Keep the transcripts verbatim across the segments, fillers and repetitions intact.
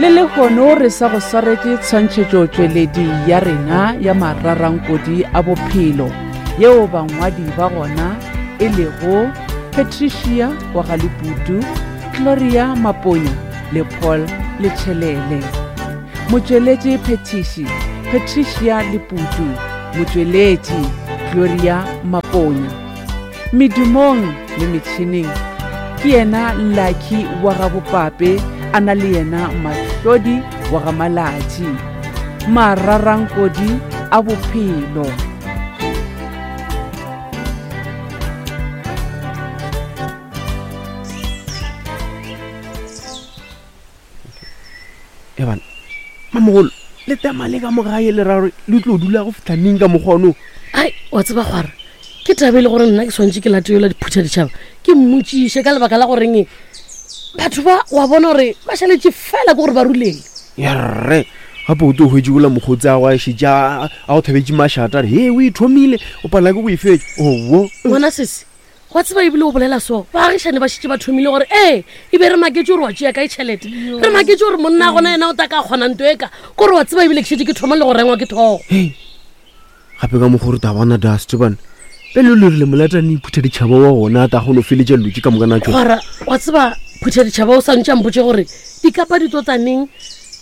Le lehono re sa go swaretše tshwantšhetšotšweledi ya rena ya mararankodi a bophelo yeo bangwadi ba gona e lego Patricia wa Galeputu, Gloria Maponya le Paul Letšhelele. Motšweletši phethiši Patricia Leputu, motšweletši Gloria Maponya. Medumong le metšhineng ke yena Lucky wa ga Bopape a na le yena Mahlodi wa ga Malatši. Mararankodi a bophelo. E bana mamogolo le tema le ka mogae le ra gore le tlo dula go fitlha neng ka mokgwa ono? Ai, wa tseba gore ke taba e le gore nna ke swantše ke late yola diphutha ditšhaba ke mmotšiše ka lebaka la goreng batho ba wa bona gore ba šaletše fela ke gore ba ruleng. Yerre gape o tlo hwetše ola mokgotsi a go a šetše a a go thabetše mašata a re he o e thomile o palela ke go e fetša. Owo Ngwana sese, wa tseba ebile o bolela so baagišane ba šetše ba thomile gore ee e be re maketše gore wa tšea kae tšhelete, re maketše gore monna gona yena o ta ka kgona nto e ka kore wa tseba ebile ke šetše ke thoma le go rengwa ke thogo. Hei gape ka mokgwa gore ta bona dust bana pele o le rile molatane iphutha ditšhaba wa gona a ta kgone go feletša dilo tše ka moka na tšona. Gwara wa tseba phutha ditšhaba o santše a mpotše gore dikapa di tlo tsaneng,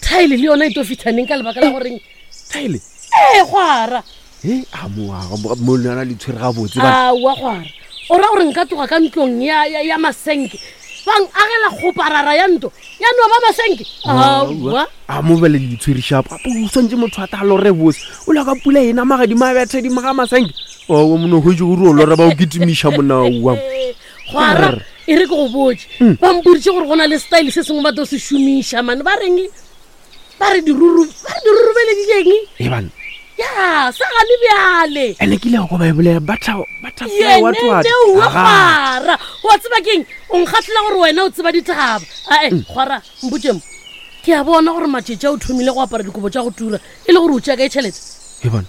thaele le yona e tlo fitlhaneng ka lebaka la goreng Thaele? Ee gwara. He a mo a mo lona le tshwere gabotse bana. Aowa gwara o ra gore nka tloga ka ntlong ya, ya, ya masenke bang agela kgoparara ya ntlo ya no ba masenke. Aowa. A mo bele le itshwere shapo gape o swantše motho a ta lore bose o la ka pula ena magadimo a betha dimo ga masenke. Owa mono hwetše gore o lora ba o kitimiša monaowa. Gwara e re ke go botše ba mpoditše gore go na le style se sengwe ba tlo se šomiša mane ba reng ba re diruru ba re dirurubeleditšeng. E bana Ya, sa gane bjale. Ene ke ile go ba e bolela butter butterfly what what. Yene wa gwara. Wa tseba keng? O nkgatlhela gore wena o tseba ditaba. Ae, gwara, mpotše mo. Ke a bona gore matšatši a o thomile go apara dikobo tša go tura e le gore o tšea kae tšhelete? E bana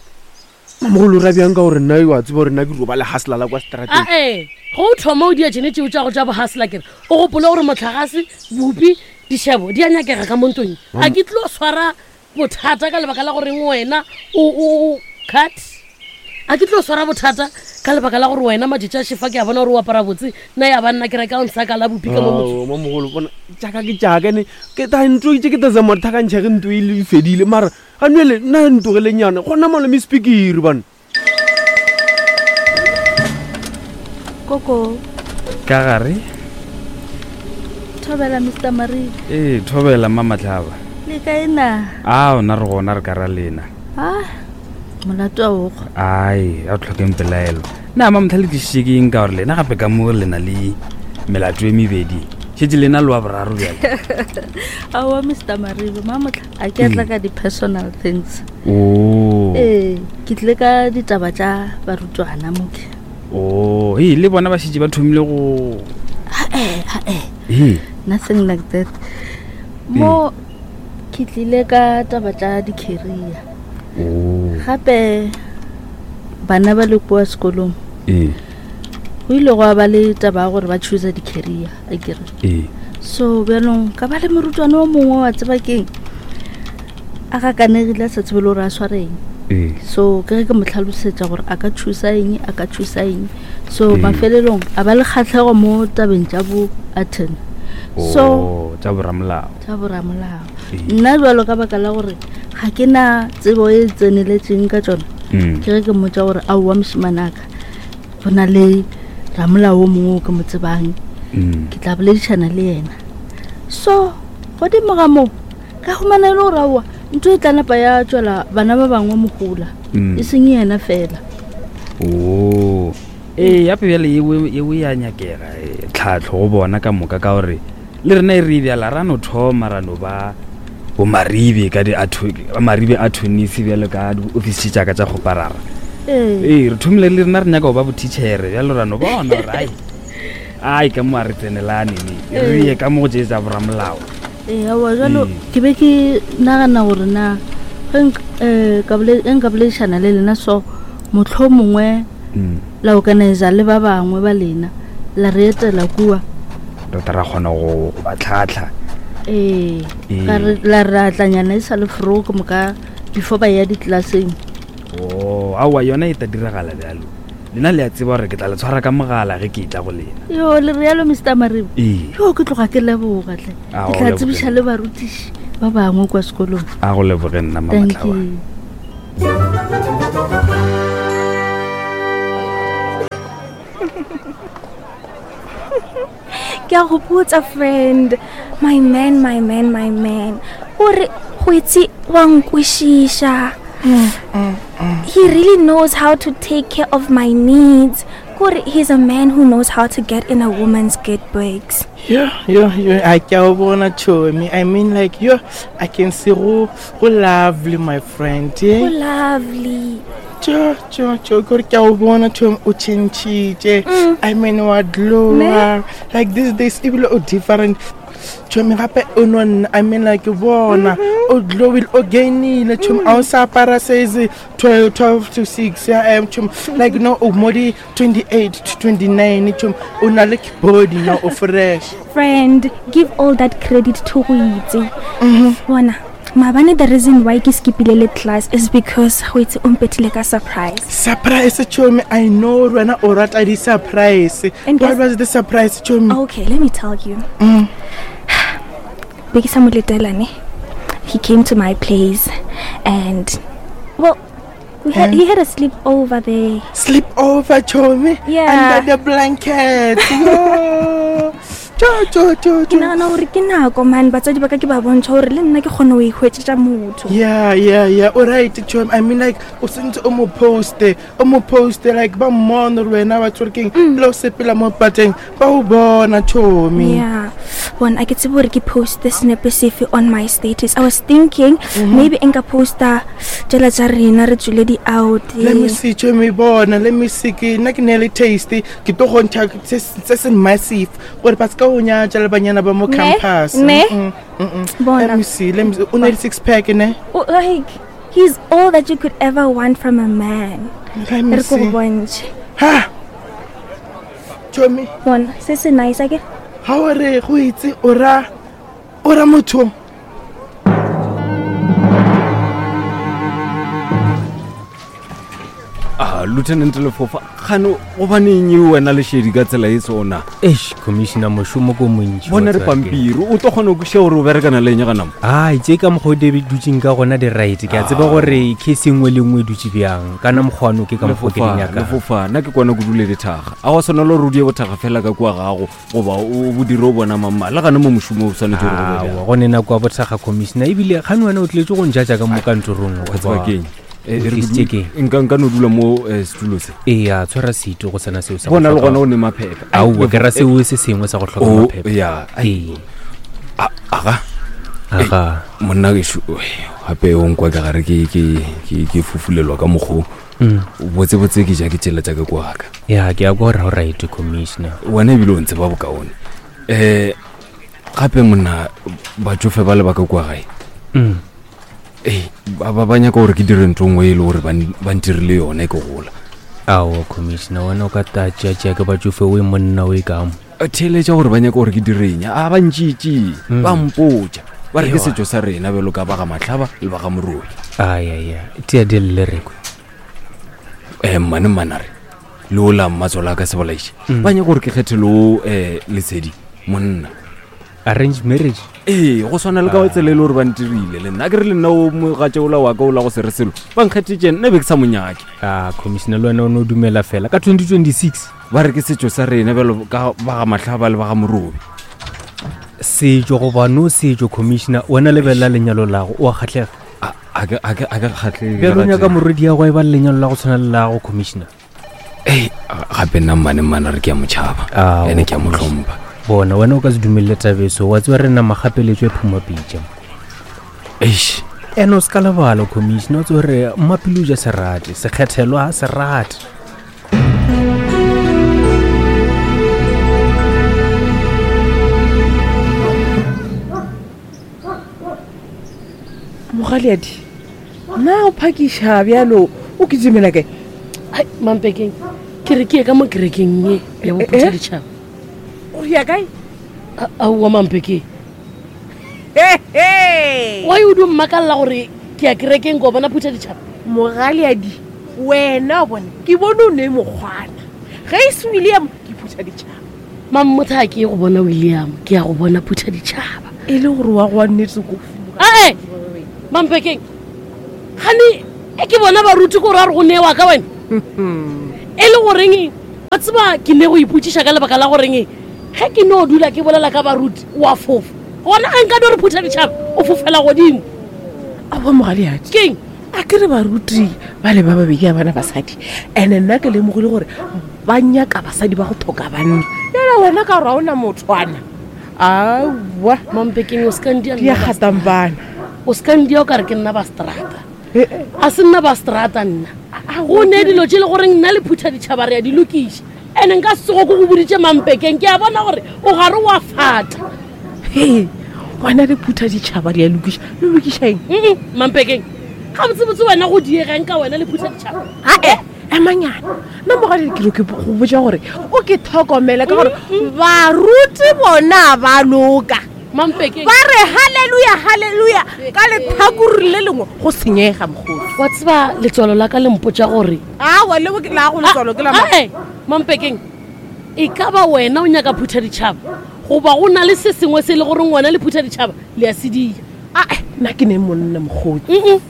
mamogolo o ra bjang ka gore nna wa tseba gore nna ke roba le hustler la kwa strateng. Ae, go o thoma o dia tšene tšeo tša go tša bo hustler kere o gopole gore motlagase, bupi, dišebo di a nyakega ka mo ntlong. A ke tlo swara bothata ka lebaka la goreng wena o, o, o cut. A ke tlo swara bothata ka lebaka la gore wena matšatši a šefa ke a bona gore o apara botse nna ya ba nna ke reka o nsaka la bupi ka mo motseng. Ao, mamogolo bona jaaka ke jaaka ne ke ta ntlo itse ke ta zama thakantšha ge ntlo e le fedile mara ga nwele nna ntogelenyana gona malome speakere bana. Koko. Ka gare? Thobela Mister Marie. Ee, thobela Mama Tlhaba. Le kae na? Ao, nna re gona re ka ra lena. Ah, molato a ogo. Ai, a o tlhokeng pelaelo. Na Mama Tlhaba le tlišitše ke eng ka gore lena gape ka mo le na le melato e mebedi. Šetše lena le wa boraro bjale. Aowa Mister Maribe, Mamotlha a ke a tla ka di-personal things. Oh. Ee, ke tlile ka ditaba tša barutwana moke. Oh, hei, le bona ba šetše ba thomile go Ae, ae. Hei. Nothing like that. Mo ke tlile ka taba tša di-career. Oh. Gape bana ba le kua sekolong. Ee. Go ile gwa ba le taba ya gore ba choose di-career, akere. Ee. So bjalong ka ba le morutwana o mongwe wa tseba keng a gakanegile a sa tsebe le gore a sware eng. Ee. So ke ge ke mo tlhalosetša gore a ka choose eng, a ka choose eng. So Ee. mafelelong a ba le kgatlhego mo tabeng tša bo attorney. So Oh, tša boramolao. Tša boramolao. Ee. Nna jwalo ka baka la gore ga ke na tsebo e tseneletseng ka tšona, Mm. ke ge ke mmotša gore aowa mošemane a ka go na le ramolao o mongwe o ke mo tsebang, Mm. ke tla boledišana le yena. So godimo ga moo ka humana e le gore aowa ntho e tla napa ya tšwela bana ba bangwe mohola, Mm. e seng yena fela. Oh. Ee, gape bjale eo, eo ya nyakega, eh, tlhahlo go bona ka moka ka gore le rena e re e bjala ra no thoma ra no ba bo Maribe ka di atho-, Maribe attorneys bjalo ka di-office tša ka tša kgoparara. Ee. Ee, re thomile le rena re nyaka go ba bo teachere bjalo ra no bona gore ai, ai ka mo a re tsenelane ne, re ye ka mo go tše tša boramolao. Ee, aowa, jwalo Ee. ke be ke nagana gore na ge nk-, eh, ka bole-, ge nka boledišana le lena so mohlomongwe Mm. la organizer le ba bangwe ba lena la re etela kua. Re tla ra kgona go ba tlhatlha. Ee, Ee. ka re la re atlanyana e sa le fro ke moka before ba ya ditlelaseng. O aowa, yona e ta diragala bjalo. Lena le a tseba gore ke tla le tshwara ka mogala ge ke etla go lena. Yo, le rialo Mister Maribe? Ee. Yo, ke tloga ke leboga tle. Ah, Ke o tla leboge. tsebiša le barutiši ba bangwe kwa sekolong. A go leboge nna, Thank Mamatlaba. you. Ke a go botsa, friend, my man, my man, my man, gore go itse wa nkwešiša. He really knows how to take care of my needs. Kore he's a man who knows how to get in a woman's good breaks. Yo, yo, yo, I ke bona chomi. I mean, like, yo, I can see go go lovely, my friend. Go Eh? lovely. Cho, cho, cho, kore ke a o bona chomi o tšhentšhitše. I mean, wa glowa. Like these days ebile o different. Chomi gape o no nna, I mean, like bona o glowile, o gainile chomi, a o sa apara size twelve, twelve to six ya em chomi, like no o mo di twenty-eight to twenty-nine chomi, o na le body now, o fresh. Friend, give all that credit to go itse. Bona, maabane the reason why ke skipile le class is because go itse o mpethile ka surprise. Surprise chomi, I know wena o rata di-surprise. And What guess- was the surprise, chomi? Okay, let me tell you. Be ke sa mo letela ne. He came to my place and, well, we had, he had a sleepover there. Sleep over, chomi? Yeah. Under the blanket. Yo. Cho, cho, cho, Ke cho. nagana gore ke nako man batswadi ba ka ke ba bontšha gore le nna ke kgone go ihwetšetša motho. Yeah, yeah, yeah. All right, chomi. I mean, like, o sentse o mo poste, o mo poste, like, ba mmone gore wena wa tsore keng, le o sepela mo pateng, ba o bona, chomi. Yeah, bona, a ke tsebe gore ke poste senepe sefe on my status. I was thinking maybe nka posta tšela tša rena re tswile di-out. Let me see, chomi, bona, let me see, ke nna ke ne le taste, ke tlo go ntšha se se se massive gore ba ska o nyatša le banyana ba mo Ne? campus. Ne? Mm, mm, mm. Bona. Let me see, let me see. O na le six pack, ne? O- like he's all that you could ever want from a man. Let me Re ko go see. bontšhe. Ha! Chomi, Bona se se nice ake. ha o re go itse o ra o ra motho. A Lieutenant Lefofa, gane gobaneng e wena lešedi ka tsela e sona? Eish, commissioner, mošomo ko montši. Bona wa re tseba ke. pampiri o tlo kgona go kweša gore o berekana le eng ga nama. Ai, tše ka mokgwa o di dutseng ka gona di-right, ke a tseba gore case e nngwe le nngwe e dutse bjang kana mokgwano ke ka mokgwa ke di Lefofa, nyakang. Lefofa, nna ke kwana ko dule dithaga, a wa tshwanela gore o die bothaga fela ka kua gago goba o bodire o bona mamma le gane mo mošomo o tshwanetse gore go be bjang. Aowa, go ne nako ya bothaga, commissioner, ebile gane wena o tletse go njatša ka mo kantorong. Wa tseba goba- ke eng? Eh, O e re ke tlisitše du- keng? nka nka no dula mo eh, setulo se. Ee, tshwara setu go sena seo sa go Bona le hloka- gona o ne maphephe. Ai, Aowa, ke ra Lefo- seo se sengwe sa go hloka Oh, maphephe. ya, ai. Ee. A- aga Aga. Monna gešo, gape o nkwa ke gare ke ke ke ke fufulelwa ka mokgo. Mm. Botsebotse ke ja ke tsela tša ka kwa ka. Ya, ke a kwa gore ga o right, commissioner. Wena ebile o ntse ba bokaone. Um gape monna, batsofe ba le ba ka kwa gae, Mm. ee, ba ba- ba nyaka gore ke dire ntho nngwe e le gore ba n- ba ntirile yone ke gola. Aowa, commissioner, wena o ka ta tšeatšea ke batsofe o e monna o e kamo. Theeletša gore ba nyaka gore ke direng, a ba ntšitše, Mm. ba mpotša ba re ke Ewa. setšo sa rena bjalo ka ba ga Matlhaba le ba ga Morobi. Ayaya, tea di lle rekwe. Um mmane mmanare le ola mmatswalo a ka sebolaiše, Mm. ba nyaka gore ke kgethe leo um Lesedi monna. Arrange marriage? Ee, go swana le ka tsela e le gore ba ntirile le nna, ke re le nna o mogatše ola wa ka ola go se re selo, ba nkgethetse, nna be ke sa monyake. A commissioner, le wena o ne o dumela fela ka twenty twenty-six? Ba re ke setšo sa rena bjalo ka ba ga Matlhaba le ba ga Morobi. Setšo goba no setšo, commissioner, wena lebelela lenyalo lago, o a kgatlhega? A a ke a ke a ke kgatlhege. Bjalo o nyaka morwedi ya go e ba le lenyalo la go tshwana le lago, commissioner? Ee, gape nna mmane mmane re ke a motšhaba, Aowa, ene ke a mo commissioner. tlhompha. Bona, wena o ka se dumelele tabeso, wa tseba re na magapeletso e phumapitša. Eish. Ene o se ka lebala, commissioner, o tsebe gore mmapele o ja serate sekgethelwa serate. Mogaleadi, na o phakiša bjalo o kitimela kae? Ai, mampekeng, ke re ke ye ka mo kerekeng ye ya Eh, bophutha ditšhaba. O ya kae? Aowa, mampekeng, Why o di mmakalela gore ke ya kerekeng ko bona phutha ditšhaba? Mogaleadi wena o bone ke bone o ne mokgwana ge e se William ke phutha ditšhaba. Mammotha a ke ye go bona William, ke ya go bona phutha ditšhaba. E le gore wa go wa nnete ko Ae, Mampekeng, gane e ke bona baruti ko re a re go newa ka wena. E le goreng wa tseba ke ne go ipotsiša ka lebaka la goreng ge ke no dula ke bolela ka baruti wa fofa. Gona ge nka no re phutha ditšhaba o fofela godimo. Aowa mogaleadi. Keng? A ke re baruti ba le ba babedi a bana basadi, and-e nna ke lemogile gore ba nyaka basadi ba go tlhoka banna. Jale wena ka gore ga ona mothwana. Aowa. Mampekeng o se ka ndia Di a gatang bana. O se ka ndia o kare ke nna ba strata. A se nna ba strata nna. Go ne dilo tše le goreng nna le phutha ditšhaba re a di lokiša. And-e nka se tsogo ko go boditše Mampekeng, ke a bona gore o gare wa fata. He, wena le phutha ditšhaba di a lokiša. Le lokiša eng? Mm-mm, Mampekeng, gabotsebotse wena go diegang ka wena le phutha ditšhaba? Ae, emanyana. Nna mogadi ke re ke go botša gore o ke tlhokomele ka gore baruti bona ba loka. Mampekeng. Ba re hallelujah, hallelujah ka letlhakore le lengwe go senyega mokgotsi. Wa tseba letswalo la ka le mpotša gore Aowa, leo ke la go letswalo ke la mang? Ae, Mampekeng, e ka ba wena o nyaka phutha ditšhaba goba go na le se sengwe se e le goreng wena le phutha ditšhaba le a se dia? Ae, nna ke ne monna mokgotsi. Mm-mm.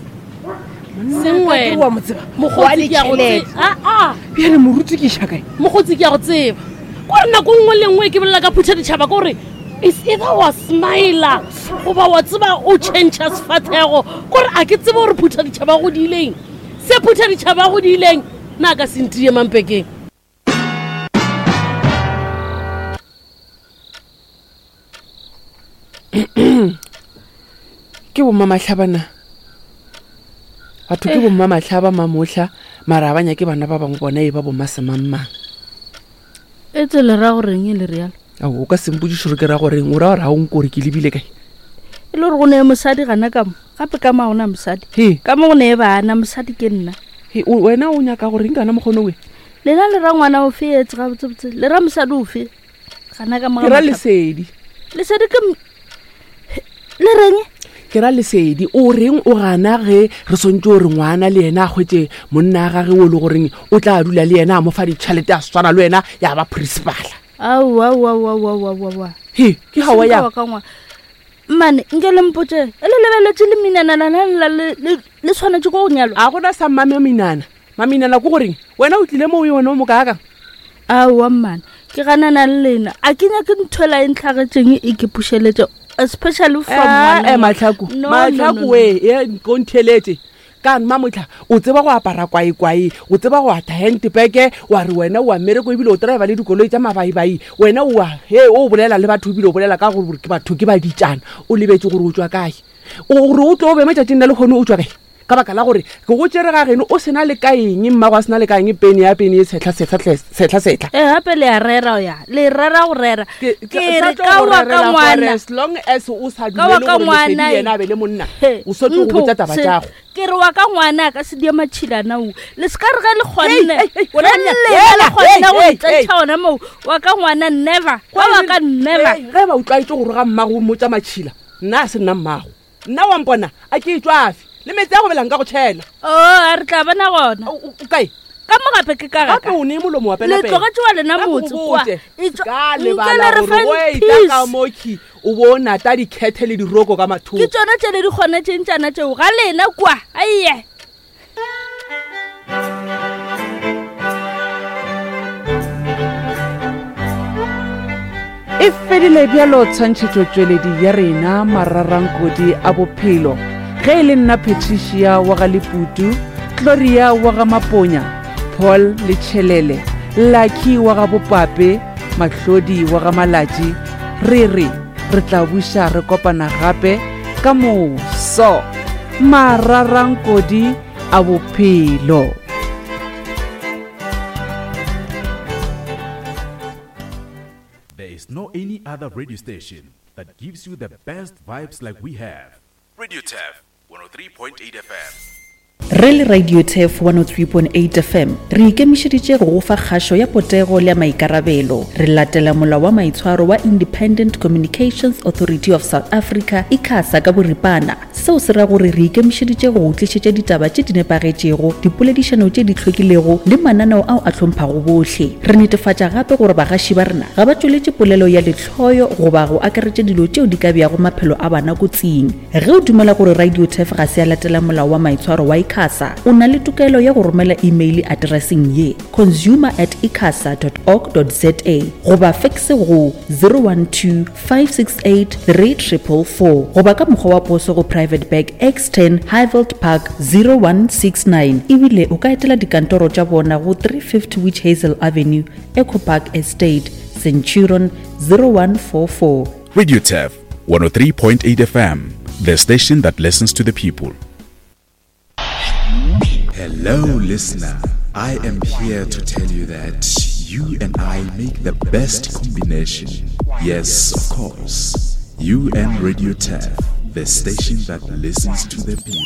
Monna Seng ka ke wena. wa mo tseba. Mokgotsi Wa ke a go ditjhelete. tseba. Ah, ah. Bjale moruti ke iša kae? Mokgotsi ke a go tseba. Kore nako nngwe le nngwe ke bolela ka phutha ditšhaba ke gore is either wa smile goba wa tseba o change-a sefahlego. Kore a ke tsebe gore phutha ditšhaba go diileng. Se phutha ditšhaba go diileng, nna ka se ntie Mampekeng. Ke bomma mahlabana. Batho ke bomma mahlaba mamohla, mara ba nyake bana ba bangwe bona e ba bomma semangmang. E tse le ra goreng e le realo? Ao, o ka se mpotšiše gore ke ra goreng, o ra gore ga o nkore ke lebile kae? E le gore go ne mosadi gana ka mo, gape ka mo ga gona mosadi. He. Ka mo go ne bana, mosadi ke nna. He, o, wena o nyaka goreng kana mokgono we? Lena le ra ngwana ofe etse gabotsebotse? Le ra mosadi ofe? Gana ka mo ga Ke ra mahlaba. Lesedi. Lesedi ke m-, le reng? Ke ra Lesedi. O reng o gana ge re swantse gore ngwana le yena a hwetše monna a gage o le goreng o tla dula le yena a mo fa ditšhelete a swana le wena ya ba principal. Aowa, aowa, aowa, aowa, aowa, aowa. He, ke ga wa Seng ka ya. wa ka ngwana. Mmane, nke le mpotše, e le lebeletše le minana lana la le, le, le tshwanetse ko go nyalwa? A gona sa mmame minana. Maminana ko goreng? Wena o tlile mo o yona o mo kaakang? Aowa, mmane, ke ganana le lena. A ke nyake ntho ela e ntlhagetšeng e ke pušeletše, especially from Eh, ngwana eh, wa- Matlhaku, No, no, Matlhaku no, no. we, e, ko ntheletše. Ka mmamotlha, o tseba go apara kwaekwae, o tseba go ata handbag, wa re wena o a mmereko ebile o driver le dikoloi tša mabaibai. Wena o a, he, o bolela le batho ebile o bolela ka gore ke batho ke baditšana. O lebetse gore o tšwa kae. O gore o tlo be matšatšing la lehono o tšwa kae? Ka baka la gore ke go tšere ga geno o sena le ka eng, mmago a sena le ka eng, pene ya pene e tshehla, sehla, hle, sehla, sehla. Eh, gape le a rera ya, le rera go rera. Ke, Ke re sa tlo ka go wa ka rerela ngwana. gore as long as o sa Ka wa dumele ka gore Lesedi ngwana, yena a be le monna, He, o swetse go ntho, botša taba se- tšago. Ke re wa ka ngwana a ka se die matšhilana o. Le se ka re ge le kgonne, Hei, hei, hei, wena ge monna, le hela, le kgonne hei, go hei, itsentšha hei. gona moo, wa ka ngwana never, wa wa ka never. Hei, ge ba utlwaetse gore ga mmago o mmotša matšhila, nna a se nna mmago. Nna wa mpona, a ke e tšwafe. Le metsi a go belang ka go tšhela. Oh, a re tla bona gona. O, o, o kae? Ka mo gape ke ka Gape gaka. o ne molomo wa Le pele-pele. tlogetše wa lena Ka go motse kwa. botše, E tšwa- ka Nke lebala le re gore fang o etla ka peace. mokhi, o bo o nata dikhethe le diroko ka mathoko. Ke tšona tše le di kgonetšeng tšana tšeo ga lena kwa. Aiye. E fedile bjalo tshwantšhetšotšweledi ya rena mararankodi a bophelo. Ge e le nna Patricia wa ga Leputu, Gloria wa ga Maponya, Paul Letšhelele, Lucky wa ga Bopape, Mahlodi wa ga Malatši, re re re tla buša re kopana gape ka moso. Mararankodi a bophelo. There is no any other radio station that gives you the best vibes like we have. Radio T E F one oh three point eight F M. Re le Radio Turf one oh three point eight F M re ikemišeditše go go fa kgašo ya potego le ya maikarabelo. Re latela molao wa maitshwaro wa Independent Communications Authority of South Africa, ICASA ka boripana. Seo se ra gore re ikemišeditše go go tlišetša ditaba tše di nepagetšego, dipoledišano tše di hlwekilego le mananeo ao a hlomphago bohle. Re netefatša gape gore bagaši ba rena ga ba tšweletše polelo ya lehloyo goba go akaretša dilo tšeo di ka beago maphelo a bana kotsing. Ge o dumela gore Radio Turf ga se ya latela molao wa maitshwaro wa ICASA, o na le tokelo ya go romela email atereseng ye, consumer at icasa dot org dot za goba fax go zero one two, five six eight, three triple four goba ka mokgwa wa poso go Private Bag X ten Highveld Park zero one six nine. Ebile o ka etela dikantoro tša bona go three fifty Witch Hazel Avenue, Echo Park Estate, Centurion zero one four four. Radio Turf one oh three point eight F M, the station that listens to the people. Hello, listener. I am here to tell you that you and I make the best combination. Yes, of course. You and Radio Turf, the station that listens to the people.